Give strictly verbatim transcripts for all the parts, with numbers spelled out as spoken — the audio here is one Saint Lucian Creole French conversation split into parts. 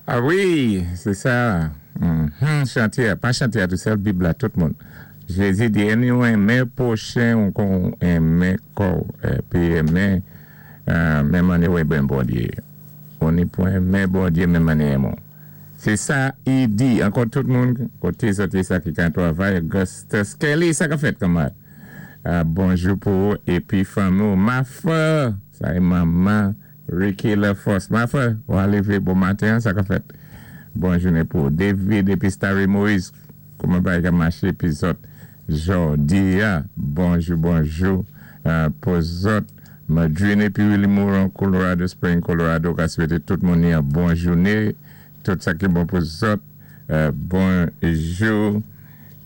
Ah wi, sé sa. Mm-hmm, chanté, pa chanté a tou sèl, Bib la, tout moun. Jézi di, ni ou enmen pwochen ou kon ou enmen kò, épi enmen, euh, menm mannyè ou enmen Bondyé. Ou ni pou enmen Bondyé, menm mannyè enmen. Sé sa, i di, ankò tout moun, koté sa, sa ki ka twavay, Augustus Kelly, sa ka fèt kanmarad. Uh, bonjou pou ou, épi fanmi, Mafa, sa é manman, Ricky LaForce. Mafa, ou lévé bon maten, sa ka fèt. Bon jounen pou David épi Starry Moïse, kouman bagay ka maché, épi zòt. Jòdi a, bonjou, bonjou, euh, pou zòt, Madrine épi Willy Moron, Colorado Spring, Colorado, ka swété tout moun yon bon jounen, tout sa ki bon pou zòt, euh, bonjou.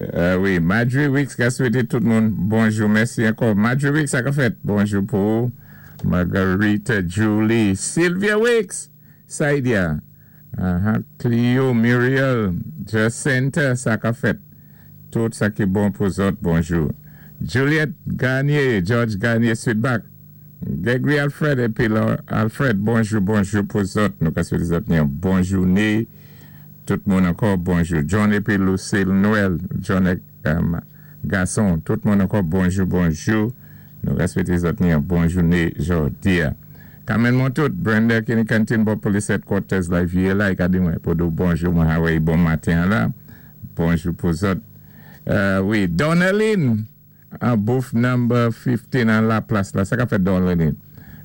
Euh, wi, Marjorie Wicks ka swété tout moun bonjou, mèsi ankò. Marjorie Wicks, sa ka fèt, bonjou pou Margarita Julie, Sylvia Wicks, Saidia, uh-huh, Cleo, Muriel, Jacinta, sa ka fèt. Tout sa ki bon pou zòt, bonjou. Juliette Garnier, George Garnier, Sweetback. Gregory Alfred épi Alfred, bonjou, bonjou pou zòt. Nou ka swété zòt yon bon jounen. Tout moun ankò, bonjou. John épi Lucille Noël, John um, gason, tout moun ankò, bonjou, bonjou. Nou ka swété zòt yon bon jounen jòdi a. Carmen Montout, Brenda ki ni kantin bò police headquarters la vyé la, i ka di mwen pou di bonjou, mwen Hawaii bon maten la. Bonjou pou zòt. Euh, wi, Donaline, an booth number fifteen an la plas la, sa ka fèt, Donaline.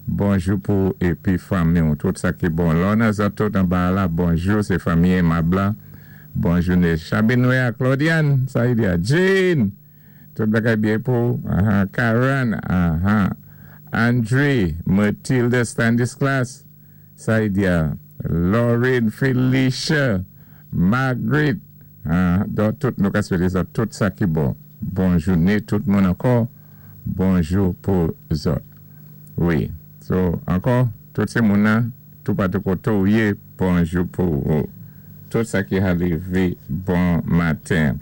Bonjou pou épi fanmi, tout sa ki bon. Lona zòt tout anba la, bonjou, sé fanmi Aimable la. Bonjou, Chabinoya, Claudiane, sa i di, Jane, tout bagay byen pou, uh-huh. Karen, uh-huh. Andre, Matilda Stanislas, sa i di, Lauren, Felicia, Margaret, uh, donk tout nou ka swété sa, tout sa ki bon. Bon jounen, tout moun ankò, bonjou pou zòt. Wi, so, ankò, tout sé moun nan, tout patou koté ou yé, bonjou pou ou. Tout sa ki arivé, bon maten.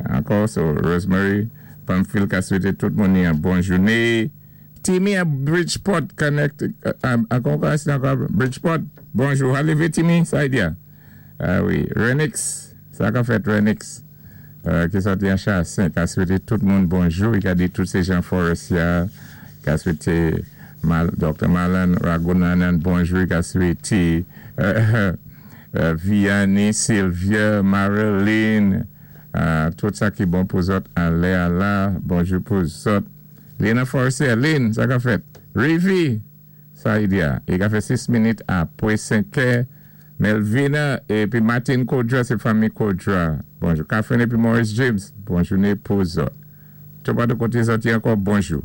Ankò, so, Rosemary, Pamphile ka swété tout moun yon bon jounen. Timmy à Bridgeport, Connect, ankò, ankò, Bridgeport, bonjou, arivé Timmy, sa i di. Ah wi, Renix, sa ka fèt, Renix, euh, ki sòti an Chassin, ka swété tout moun bonjou, i ka di tout sé jan Forestier, ka swété Mal, Doktè Malan Ragunanan, bonjou, ka swété euh, euh, Vianney, Sylvia, Marilyn, euh, tout sa ki bon pou zòt, anlè la, bonjou pou zòt. Lena Forestier, Lynn, sa ka fèt. Rivi, sa i di, i ka fè sis minit apwé senk è. Melvina, épi Martin Kodra, sé fanmi Kodra. Bonjou. Catherine épi Maurice James, bonjou pou zòt. Tout patou koté zòt ankò, bonjou.